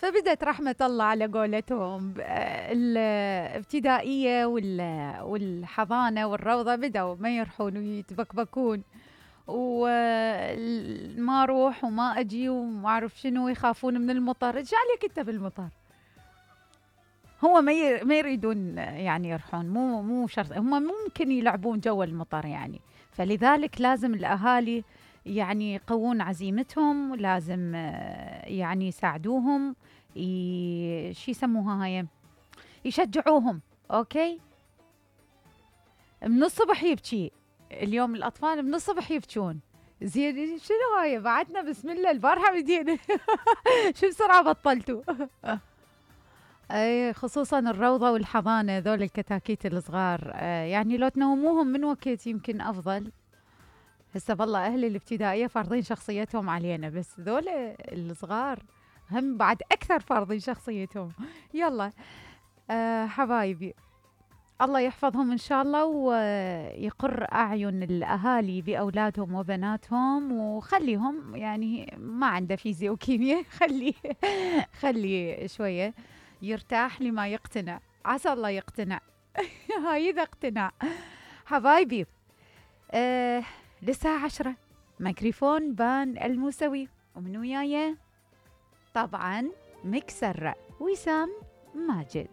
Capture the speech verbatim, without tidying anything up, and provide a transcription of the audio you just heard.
فبدت رحمة الله على قولتهم الابتدائية والحضانة والروضة بدأوا ما يرحون ويتبكبكون، وما اروح وما اجي وما اعرف شنو، يخافون من المطر. ايش عليك انت بالمطر؟ هو ما ما يريدون يعني يروحون، مو مو شرط، هم ممكن يلعبون جو المطر يعني. فلذلك لازم الاهالي يعني يقوون عزيمتهم، لازم يعني يساعدوهم، ي... شو يسموها هاي، يشجعوهم. اوكي، من الصبح يبكي اليوم الاطفال، من الصبح يبكون. زين شنو هاي بعدنا؟ بسم الله البارحه بدينا شو بسرعه بطلتوا اي خصوصا الروضه والحضانه، ذول الكتاكيت الصغار، آه يعني لو تنوموهم من وقت يمكن افضل. هسه والله اهل الابتدائيه فارضين شخصيتهم علينا، بس ذول الصغار هم بعد اكثر فارضين شخصيتهم. يلا آه حبايبي، الله يحفظهم ان شاء الله، ويقر اعين الاهالي باولادهم وبناتهم، وخليهم يعني ما عنده فيزياء وكيمياء خليه خليه شويه يرتاح لما يقتنع، عسى الله يقتنع هاي اذا اقتنع. حبايبي آه للساعة عشرة ميكروفون بان الموسوي، ومن وياي طبعا مكسر وسام ماجد.